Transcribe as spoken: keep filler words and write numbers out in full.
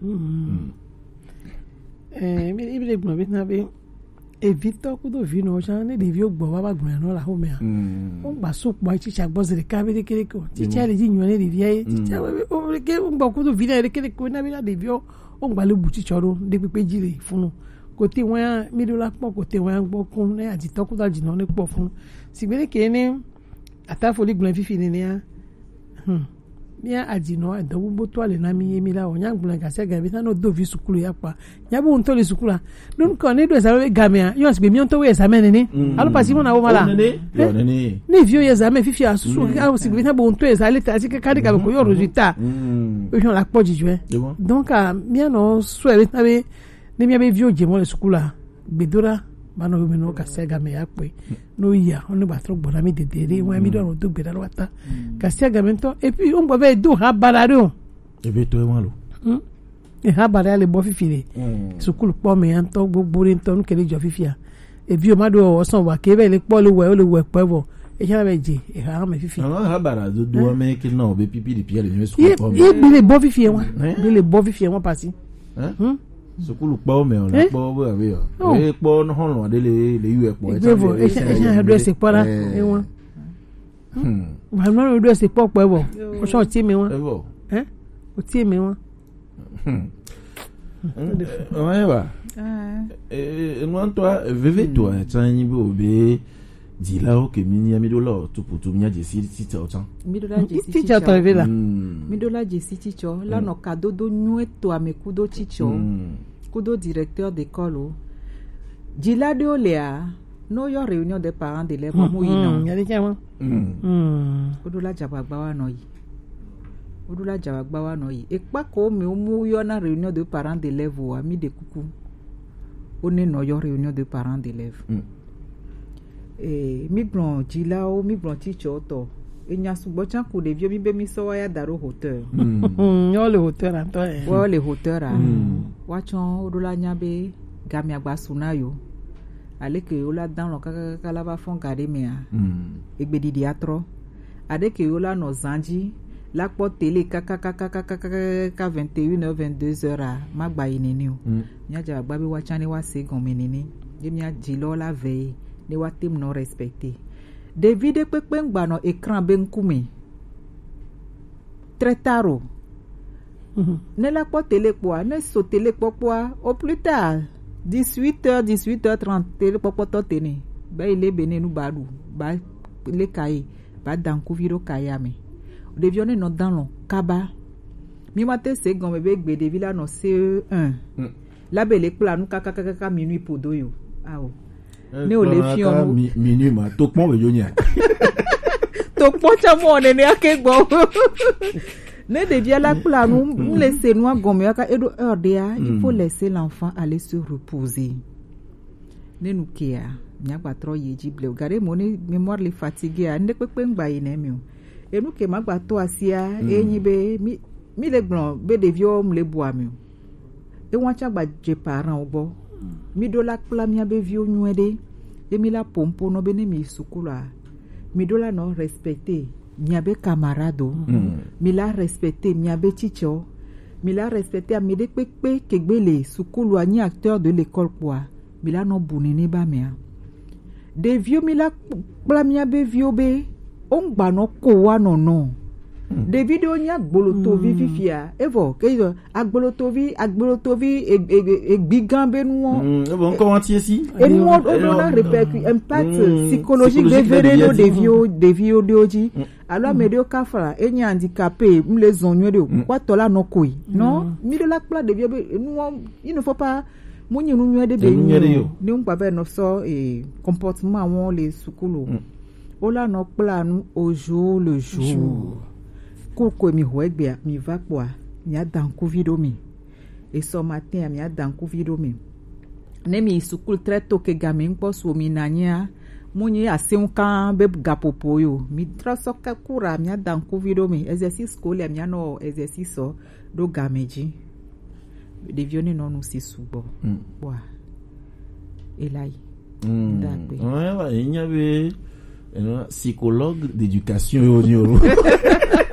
Mm. Eh, mi, mi le gbɔn bi na bi. Evitɔ kudo vinɔ jan ne ɖeviwo gbɔ va va gblɔ nɔ la xomea. Mm. Wo gba su kpɔ tsitsa gbɔ zi ɖeka be ɖeke ɖeke o. Tsitsa le dzi nyɔ ne ɖevia ye. Tsitsa be o ɖeke wo gbɔ kudo vinɔ ɖeke ɖeke o na bi na ɖeviwo. Wo gba le bu tsitsɔ ɖo ɖe kpekpe dzi le funu. Kote wa mi ɖo la kpɔ kote wa gbɔ kun ne adzitɔ kudo adzinɔ ne kpɔ funu. Sigbe ɖeke ne Atafoli gblɔe fifi nenea. Hmm. Mía adzinɔ edɔ bubu to ale na mí ye mí la wɔ. Nya gblɔe gasi aga mí ta no do vi sukulu ya kpa. Nya bu ŋutɔ le sukulu a. Ɖo ŋkɔ ne ɖo examen be gamea, yɔ sigbe mía ŋutɔ wo examen nene. Mm. Alo pasi mo na wo ma la. Nene. Yɔ nene. Ne viwo yi examen fifi a susu a sigbe ta bo ŋutɔ examen le ta si ka de ga ko yɔ résultat. Mm. O yɔ la kpɔ dzidzɔe. Donc a mía nɔ sɔ be ta be Ne mía be viwo dze mɔ le sukulu a, gbedoɖa ma nɔ yome nɔ gasiagame ya kpɔe. No ya, wo ne gba trɔ gbɔna mi dede ɖe, wa mi ɖo anɔ do gbeɖa ɖo ata. Gasiagame ŋutɔ, et puis wo ŋgɔ be do ha baɖa ɖe o. Ebe to ema lo. Hmm? E ha baɖa le bɔ fifi ɖe. Sukulu kpɔ me ya ŋutɔ gbogbo ɖe ŋutɔ nu ke le dzɔ fifi a. Eviwo ma ɖo wɔ sɔn wa ke be le kpɔ le wɛ, le wɛ kpɔ vɔ. E tsana be dze, e ha me fifi. Ama ha baɖa dodo me ke na o be pipi ɖe pia le nyɔ sukulu kpɔ me. Ye bi le bɔ fifi wa. Bi le bɔ fifi wa pasi. Hein? Hmm? Sukulu kpɔwo me o la kpɔwo be abe o. Oh. E kpɔ no hɔn lo de le le yu e kpɔ. Egbe vo e sha e sha do se kpɔ la. Eh. E won. Hmm. Wa no do se kpɔ kpɔ vo. O so ti me won. E vo. Hein? O ti me won. Hmm. Ɔmɛ ba. Eh, enu ŋutɔ veve to a tsa nyi be o be dzilawo ke mi nya mi ɖo la o tuputu mi nya dzesi titsa o tsa. Mi ɖo la dzesi titsa tɔ ve la. Mi ɖo la dzesi titsa la nɔ kadodo nyuie to ame kudo titsa kudo directeur d'école o. Dzila ɖewo lea no yɔ réunion des parents d'élèves mo yi nɔ. Nya de tsa mo. Wo ɖo la dzagbagba wa nɔ yi. Wo ɖo la dzagbagba wa nɔ yi. Ekpa ko mi wo mu yɔ na réunion de parents d'élèves wa mi de kuku. Wo ne nɔ yɔ réunion de parents d'élèves. Eh, mi gblɔ dzilawo, mi gblɔ titsɔtɔ. Enya sugbɔ tsan ku ɖeviwo mi be mi sɔ wa ya da ɖo hauteur. Yɔ le hauteur atɔ ye. Wo le hauteur a. Wa tsɔ wo ɖo la nya be gamia gba su na yo. Aleke yo la dan lɔ kakakaka la va fɔn ga ɖe mea. Egbe ɖiɖi atrɔ. Aɖeke yo la nɔ zan dzi la kpɔ télé kakakaka vingt et une heures, vingt-deux heures a ma gba yi nene o. Mía dze agba be wa tsa ne wa se gɔme nene. Ye mía dzi lɔ la vɛ ye ne wa tem nɔ respecté. Ɖevi ɖe kpekpe ŋgba nɔ écran be ŋkume. Très tard o. Ne la kpɔ télé kpɔa, ne so télé kpɔkpɔa, au plus tard, dix-huit heures, dix-huit heures trente, télé kpɔkpɔtɔ tene. Ba yi le be ne nu ba ɖu, ba le kaye, ba dankuvi ɖo kaye ame. Ɖeviwo ne nɔ dan lɔ kaba. Mi ma te se gɔme be gbe ɖevi la nɔ C E un. La be le kpla nu kakakaka minuit podo yo. Ao. Ne o le fiɔ nu. Minuit ma to kpɔn be yo nya. To kpɔn tsa mɔ nene ake gbɔ. Ne ɖevia la kpla nu, m le se nua gɔme aka eɖo heure ɖea, il faut laisser l'enfant aller se reposer. Ne nu kea, mia gba trɔ yi dzi blewu. Gade mo ne mémoire le fatigué a, ne kpekpe ŋgba yi ne mi o. Enu ke ma gba to asia, enyi be mi mi le gblɔ be ɖeviwo m le bu ami o. Ewa tsa gba dze parent wo gbɔ. Mi ɖo la kpla mia be viwo nyuie ɖe. Ye mi la pompo nɔ be ne mi yi sukulu a, mi ɖo la nɔ respecté mia be camarade o. Mi la respecté mia be teacher o. Mi la respecté ame ɖe kpekpe kegbe le sukulu a nyi acteur de l'école kpɔa. Mi la nɔ bu nene ba mea. Ɖeviwo mi la kpla mia be viwo be wo ŋgba nɔ ko wa nɔnɔ. Ɖevi ɖewo nye agbolotovi fifia. Evɔ ke yɔ agbolotovi agbolotovi egbigan be nuwo. Evɔ ŋkɔ wa tie si. Enuwo ɖo na répercu impact psychologique veve ɖe ɖo ɖeviwo ɖeviwo ɖewo dzi. Alo ame ɖewo kafla enye handicapé, m le zɔn nyuie ɖe o. Kpɔtɔ la nɔ koe. Non, mi ɖo la kpla ɖeviwo be enuwo il ne faut pas Mu nyi nu nyuie ɖe be nyi o. Ne ŋgba va nɔ sɔ e comportement wɔn le sukulu. Wo la nɔ kpla nu au jour le jour. Cours ko mi xɔ egbea mi va kpɔa, mia da ŋkuvi ɖo mi. Esɔ matin a mia da ŋkuvi ɖo mi. Ne mi yi sukulu très tôt ke game ŋkpɔ su mi na nyia, mu nyi aseŋ kan be gapopo yo. Mi trɔ sɔ ke cours a mia da ŋkuvi ɖo mi. Exercice scolaire mia nɔ exercice sɔ ɖo game dzi. Ɖeviwo ne nɔ nu si sugbɔ. Kpɔa ela yi. Ndagbe. Ouais, ouais, il y avait psychologue d'éducation yo ni o.